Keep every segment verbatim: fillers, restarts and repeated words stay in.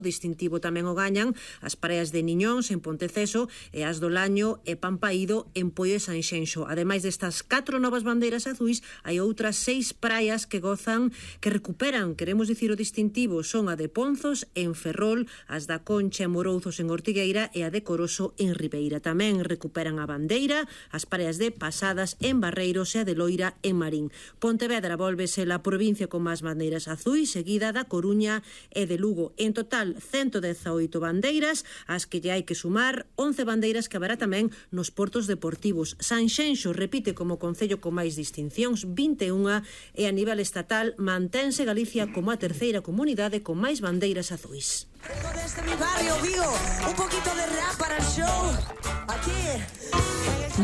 distintivo tamén o gañan as pareas de Niñóns en Ponteceso e as do Laño e Pampaído en Poio e Sanxenxo. Ademais destas catro novas bandeiras azuis, hai outras seis praias que gozan, que recuperan, queremos dicir o distintivo, son a de Ponzos en Ferrol, as da Concha en Morouzos en Ortigueira e a de Coroso en Ribeira. Tamén recuperan a bandeira as pareas de Pasadas en Barreiros e a de Loira en Marín. Pontevedra volvese la provincia con máis bandeiras azuis, seguida da Coruña e de Lugo. En total, ciento dezaoito bandeiras, as que lle hai que sumar once bandeiras que haberá tamén nos portos deportivos. Sanxenxo repite como concello con máis distincións, vinte e unha, e a nivel estatal mantense Galicia como a terceira comunidade con máis bandeiras azuis. Desde mi barrio Vigo, un poquito de rap para el show. Aquí.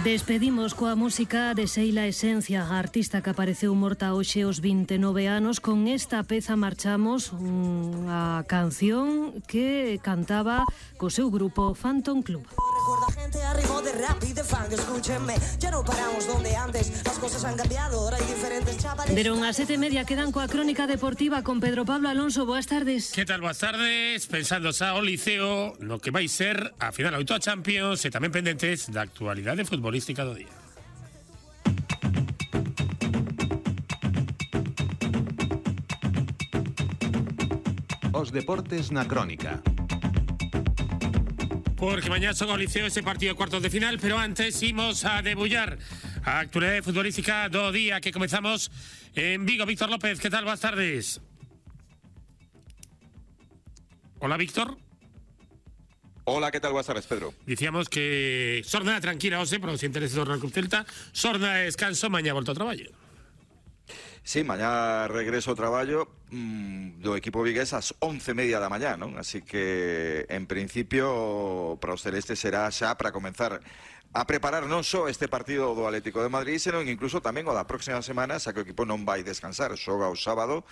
Despedimos coa música de Seila Esencia, a artista que apareceu morta hoxe aos vinte e nove anos. Con esta peza marchamos unha canción que cantaba co seu grupo Phantom Club. Recuerda gente arriba de rap y de funk, escúchenme. Ya no paramos donde antes, las cosas han cambiado, ahora hay diferentes chavales. Deron a sete e media, quedan coa crónica deportiva con Pedro Pablo Alonso. Boas tardes. Que tal, boas tardes? Pensando xa o Liceo no que vai ser a final oito a Champions e tamén pendentes da actualidade futbolística do día. Os deportes na crónica. Porque mañá son o Liceo ese partido de cuartos de final, pero antes imos a debullar a actualidade futbolística do día que comezamos en Vigo. Víctor López, que tal? Boas tardes. Hola, Víctor. Hola, ¿qué tal? Buenas tardes, Pedro. Dicíamos que xornada tranquila hoxe para os intereses do Real Club Celta, xornada de descanso, mañá volta ao traballo. Sí, mañá regreso ao traballo mmm, do equipo vigués ás once e media da mañá, non? Así que, en principio, para os celestes será xa para comenzar a preparar non só este partido do Atlético de Madrid, senón incluso tamén o da próxima semana, xa que o equipo non vai descansar, xoga o sábado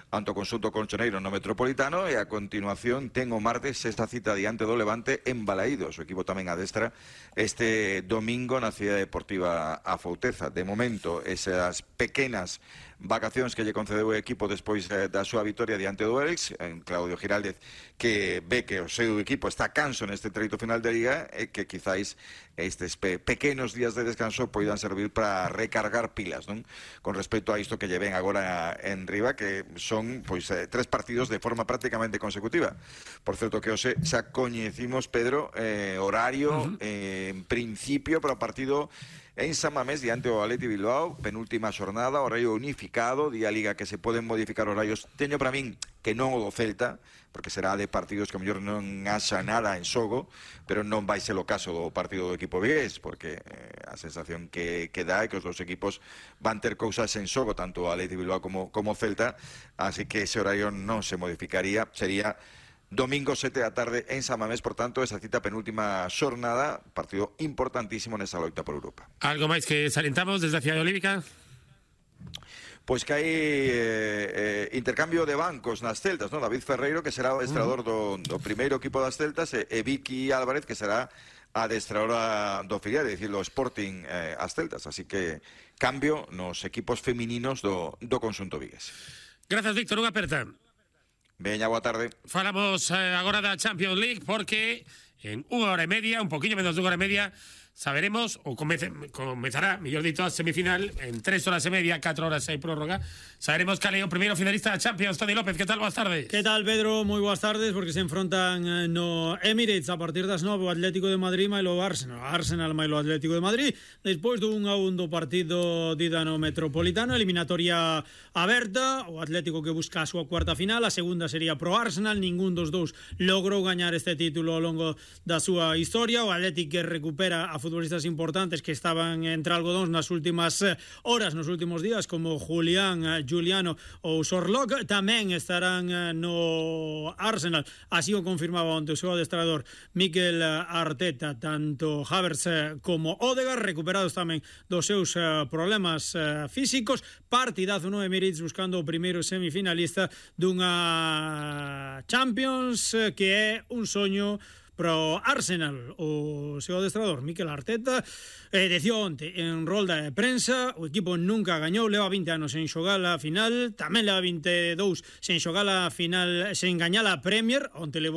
ante o conxunto colchoneiro no Metropolitano e a continuación ten o martes esta cita diante do Levante en Balaídos. O equipo tamén adestra este domingo na Cidade Deportiva A Fouteza. De momento, esas pequenas vacacións que lle concedeu o equipo despois eh, da súa vitoria diante do Elx, en Claudio Giraldez, que ve que o seu equipo está canso neste treito final de Liga e que quizáis estes pe pequenos días de descanso poidan servir para recargar pilas, non? Con respecto a isto que lle ven agora en riba, que son pois eh, tres partidos de forma prácticamente consecutiva. Por certo que hoxe xa coñecimos, Pedro, eh, horario, uh -huh. eh, en principio para o partido en San Mamés diante o Atleti Bilbao, penúltima xornada, horario unificado, día Liga que se poden modificar horarios. Teño para min que non o do Celta, porque será de partidos que a mellor non haxa nada en xogo, pero non vai ser o caso do partido do equipo vigués, porque eh, a sensación que, que dá é que os dos equipos van ter cousas en xogo, tanto o Atleti Bilbao como, como Celta, así que ese horario non se modificaría, sería domingo sete da tarde en San Mamés, por tanto, esa cita penúltima xornada, partido importantísimo nesa loita por Europa. Algo máis que salientamos desde a Cidade Olímpica? Pois que hai eh, eh, intercambio de bancos nas Celtas, non? David Ferreiro, que será o adestrador do, do primeiro equipo das Celtas, e, e Vicky Álvarez, que será a adestradora do filial, é dicir, do Sporting eh, as Celtas. Así que cambio nos equipos femininos do, do conxunto vigués. Gracias, Víctor. Unha aperta. Veña, boa tarde. Falamos eh, agora da Champions League porque en unha hora e media, un poquinho menos de unha hora e media, saberemos, ou comece, comezará, mellor dito, a semifinal en tres horas e media, catro horas e prórroga. Saberemos cal é o primeiro finalista da Champions. Toni López, que tal? Boas tardes. Que tal, Pedro? Moi boas tardes, porque se enfrontan no Emirates a partir das nove o Atlético de Madrid mailo Arsenal. Arsenal mailo Atlético de Madrid, despois dun a un do partido dida no Metropolitano, eliminatoria aberta, o Atlético que busca a súa cuarta final, a segunda sería pro Arsenal, ningún dos dous logrou gañar este título ao longo da súa historia. O Atlético que recupera a futbolistas importantes que estaban entre algodóns nas últimas horas, nos últimos días, como Julián, Juliano ou Sorlock, tamén estarán no Arsenal, así o confirmaba onte o seu adestrador Mikel Arteta. Tanto Havertz como Odegaard recuperados tamén dos seus problemas físicos. Partidazo no Emirates buscando o primeiro semifinalista dunha Champions que é un soño pro Arsenal. O seu adestrador Mikel Arteta eh, decía onte en rolda de prensa, o equipo nunca gañou, leva vinte anos sen xogar a final, tamén leva vinte e dous sen xogar a final, sen gañar a Premier, onte levou